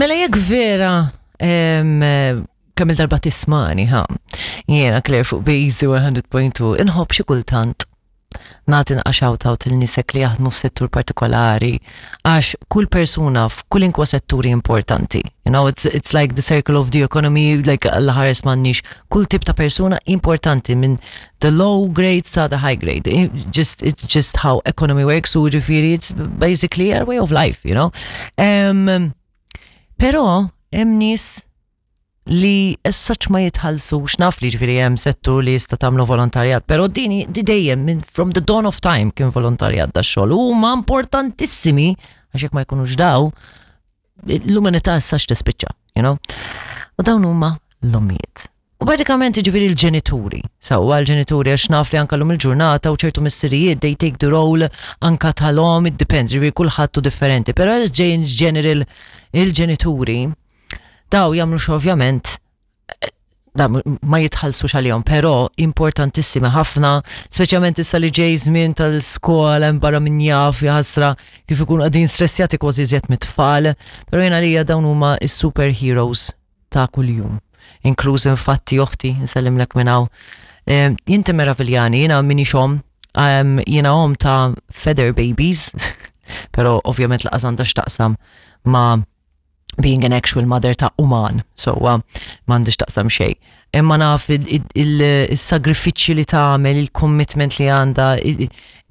Mela jekk vera kemm il-darba tismani, ha, jiena Claire fuq Bazy 100.2, inħobb xi kultant nagħti naqra shout out il nisek li jaħdmu f'settur partikolari għax kull persuna f'kulinkwa setturi importanti. You know, it's, it's like the circle of the economy, like l-ħares m'għandniex kull tip ta' persuna importanti minn the low grade sa the high grade. It just, it's just how economy works u ġifieri it's basically our way of life, you know. Um, pero hemm nies li as such ma jitħallsux naf li ġifieri hemm settur li jista' tagħmlu volontarjat, però dini di dejjem minn from the dawn of time kien volontarjat da xogħol huma importantissimi għax jekk ma jkunux daw l-umanità as such tispiċċa, you know? U dawn huma l-ommijiet. U pratikament ġifieri l-ġenituri, sewwa l-ġenituri għax naf li anka l-lum il-ġurnata u ċertu missirijiet they take the role anka tal-om, it depends, ġifieri kulħadd hu differenti, però as in general il-ġenituri daw jagħmlu ovvjament da ma jitħallsux għalihom, però importantissimi ħafna, speċjalment issa li ġej żmien tal-skola hemm barra min jaf jaħasra kif ikunu qegħdin stressjati kważi iżjed mit-tfal, però jiena għalija dawn huma is-superheroes ta' kuljum. Inkluż infatti oħti, nsellimlek minn hawn. Jinti meraviljani, jiena minix omm, jiena omm ta' feather babies, però ovvjament laqas għandha x'taqsam ma' being an actual mother ta' uman, so m'għandix taqsam xejn. Imma naf il-sagrifiċċji li tagħmel, il-commitment li għandha,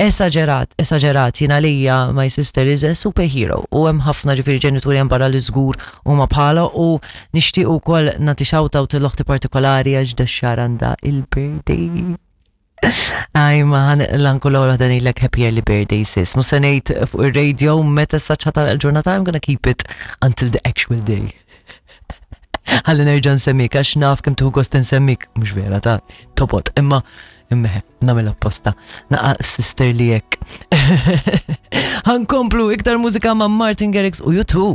esaġerat, esaġerat, jiena lija my sister is a superhero u hemm ħafna ġifieri ġenituri hemm barra li żgur huma bħala u nixtieq ukoll nagħti shout out lil oħti partikolari għax dax-xahar għandha il-birthday. Aj, ma l-anku l-ewwel waħda ngħidlek happy early birthday sis. Mhux se ngħid fuq ir-radio meta saċ ħata l-ġurnata, I'm gonna keep it until the actual day. Ħalli nerġa' nsemmik għax naf kemm tieħu gost insemmik, mhux vera ta' tobot, imma imma nagħmel apposta. Naqa' sister li hekk. Ħankomplu iktar mużika ma' Martin Garrix u U2.